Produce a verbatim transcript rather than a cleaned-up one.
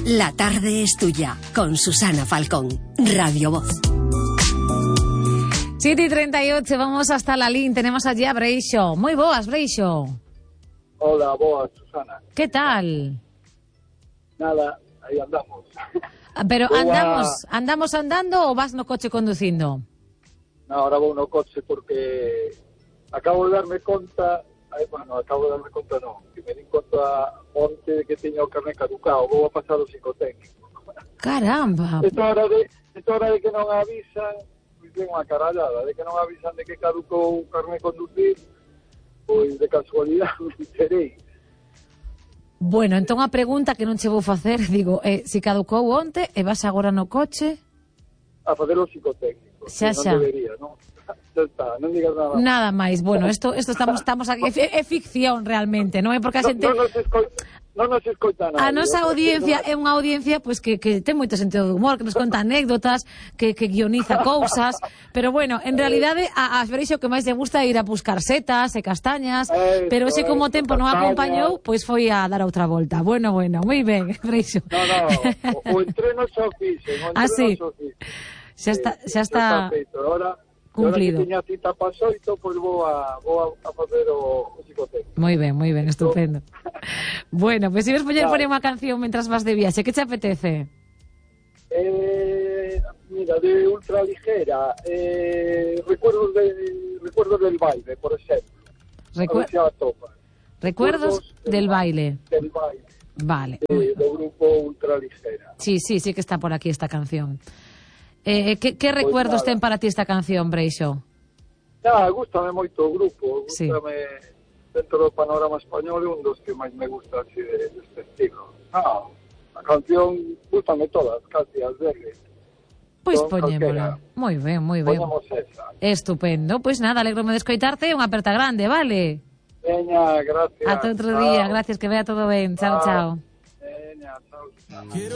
La tarde es tuya, con Susana Falcón, Radio Voz. siete y treinta y ocho, vamos hasta Lalín, tenemos allí a Breixo. Muy boas, Breixo. Hola, boas, Susana. ¿Qué tal? Nada, aí andamos. Pero Boa... andamos, andamos andando ou vas no coche conducindo? No, ahora vou no coche porque acabo de darme conta, ay, bueno, acabo de darme conta non, que me di conta onte que teña o carné caducado, vou a pasar o psicotécnico. Caramba. Esta hora de, esta hora de que non avisan, pois ben unha carallada, de que non avisan de que caducou o carné conducir, pois de casualidade me enterei. Bueno, entón a pregunta que non che vou facer, digo, eh, se caducou onte e vas agora no coche? A facer o psicotécnico. Xa, non xa. debería, non? Xa está, non digas nada. Nada máis. Bueno, isto isto estamos estamos aquí é, é ficción realmente, non é porque a xente Non nos escoita, non nos escoita nada. a nosa audiencia é unha audiencia pois que que ten moito sentido de humor, que nos conta anécdotas, que que guioniza cousas, pero bueno, en realidade a, a Breixo que máis lle gusta é ir a buscar setas e castañas, Eso, pero ese como o eso, tempo non castañas. acompañou, pois foi a dar outra volta. Bueno, bueno, moi ben, Breixo. No, no, o, o entreno xa o fixen, o entreno Ah, sí. xa o fixen. Xa está, xa Xa está feito. Ahora, cumplido. Ahora que tiña cita para xoito, pois vou a, vou a, a facer o, o psicotécnico. Moi ben, moi ben, estupendo. Bueno, pois pues, se ves poñer Claro. poñer unha canción mentras vas de viaxe, que te apetece? Eh, mira, de ultraligera, eh, recuerdos, de, recuerdos del baile, por exemplo. Recu- A ver se a topa. Recuerdos del baile. Del baile, Vale. de, do grupo ultraligera. Sí, sí, sí que está por aquí esta canción. Eh, que, que recuerdos nada. ten para ti esta canción, Breixo? Ah, gústame moito o grupo, Sí. gústame dentro do panorama español é un dos que máis me gusta así de, deste estilo. Ah, a canción gústame todas, casi as verdes. Pois Con poñémola. calquera. Moi ben, moi ben. Poñamos esa. Estupendo. Pois nada, alegrome de escoitarte e unha aperta grande, vale? Veña, gracias. Ata outro Chao. día, gracias, que vea todo ben. Chao, chao. Veña, chao.